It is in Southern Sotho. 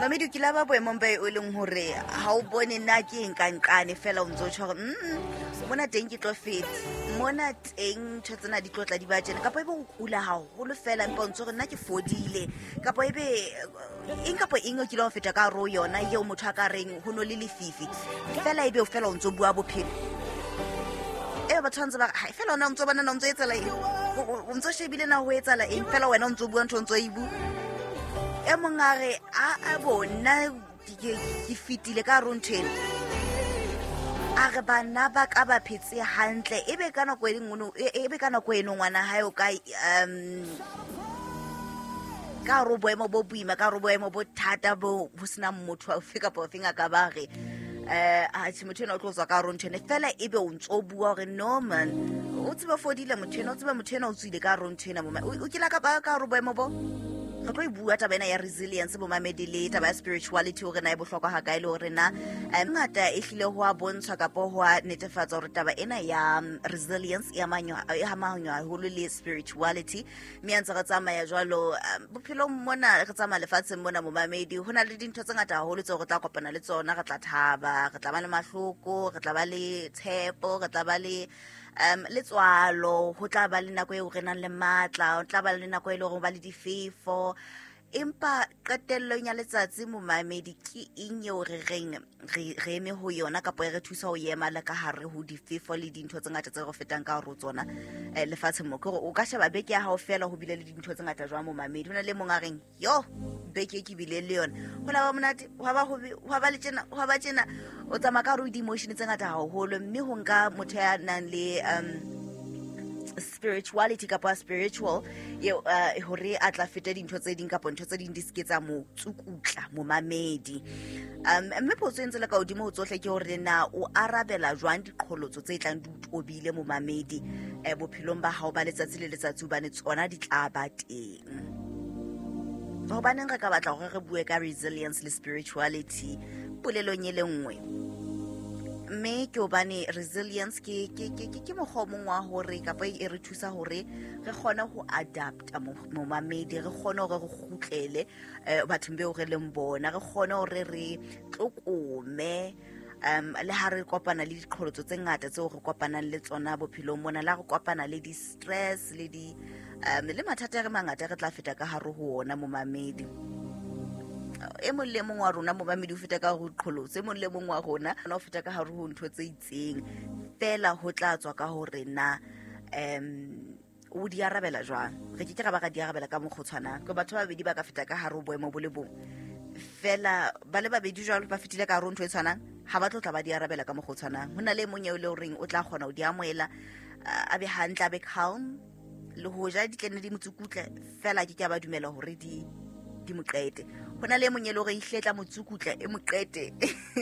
Mamedi, o kile a ba boemong ba e leng hore ha o bone na ke eng ka nqane, fela o ntso tjho hore mona teng ke tlo feta, mona teng ntho tsena di tlo tla di ba tjena, kapa ebe o kula haholo fela empa o ntso re nna ke fodile, kapa ebe eng kapa eng o kile wa feta ka hare ho yona eo motho a ka reng ho no le lefifi fela, ebe o fela o ntso bua bophelo e batho ba ntse ba re, "Hai, fela ona o ntso bona na o ntso etsala eng? O ntso shebile na ho etsala eng? Fela wena o ntso bua ntho o ntso e bua." E mong a re, a bo nna ke fetile ka hare ho ntho ena. A re bana ba ka ba phetse hantle, ebe ka nako e nngwe ebe ka nako eno ngwana hae o ka ka hare ho boemo bo boima, ka hare ho boemo bo thata bo ho senang motho ofe kapa ofeng a ka ba re atjhe, motho ena o tlo tswa ka hare ho ntho ena, fela ebe o ntso bua hore no man, o tsebe fodile motho ena, o tsebe motho ena o tswile ka hare ho ntho ena. O kile ka ba ka hare ho boemo bo? Re tlo e bua taba ena ya resilience, bomamedi, le taba ya spirituality, hore na e bohlokwa ha kae, le hore na ngata e hlile ho a bontshwa kapa ho a netefatsa hore taba ena ya resilience e amanywa haholo le spirituality. Mme a ntse re tsamaya jwalo bophelong mona, re tsamaya lefatsheng mona, momamedi, ho na le dintho tse ngata haholo tseo re tla kopana le tsona. Re tla thaba, re tla ba le mahloko, re tla ba le tshepo, re tla ba le letswalo, ho tla ba le nako eo re nang le matla, ho tla ba le nako e leng hore ba le difefo. Empa qetellong ya letsatsi, momamedi, ke eng eo re reng re eme ho yona kapa e re thusa ho ema le ka hare ho difefo le dintho tse ngata tse re fetang ka hare ho tsona lefatsheng mo? Ke hore o ka sheba beke ya hao fela, ho bile le dintho tse ngata jwang, momamedi? Ho na le mong a reng, yo, beke e ke bile le yona, ho la ba monate, hwa ba hobe, hwa ba le tjena, hwa ba tjena. O tsamaya ka hare ho di-emotion tse ngata haholo, mme ho nka motho ya nang le spirituality kapa spiritual eo hore a tla feta dintho tse ding kapa ntho tse ding di seke tsa mo tsukutla, momamedi. Mme potso e ntse le ka hodimo ho tsohle ke hore na o arabela jwang diqholotso tse tlang di o tobile, momamedi, bophelong ba hao ba letsatsi le letsatsi, hobane tsona di tla ba teng. Hobaneng re ka batla hore re bue ka resilience le spirituality polelong e le nngwe? Mme ke hobane resilience ke mokgwa o mong wa hore kapa e re thusa hore re kgone ho adapta, momamedi, re kgone hore re kgutlele bathong beo re leng bona, re kgone hore re tlokome le ha re kopana le diqholotso tse ngata tseo re kopanang le tsona bophelong mona, la re kopana le di-stress le di le mathata a re mangata re tla feta ka hare ho ona, momamedi. E mong le mong wa rona, momamedi, o feta ka hare ho diqholotso. E mong le mong wa rona o feta ka hare ho ntho tse itseng, fela ho tla tswa ka hore na o di arabela jwang. Re ke ke ra ba ra di arabela ka mokgwa o tshwanang ke batho ba babedi ba ka feta ka hare ho boemo bo le bong, fela ba le babedi jwalo ba fetile ka hare ho ntho e tshwanang, ha ba tlo tla ba di arabela ka mokgwa o tshwanang. Ho na le e mong eo e le horeng o tla kgona ho di amohela, a be hantle, a be calm, le hoja di tlene di mo tsukutle, fela ke ke a ba dumela hore di mo qete. Ho na le e mong e le hore ehlile tla mo tsukutla, e mo qete.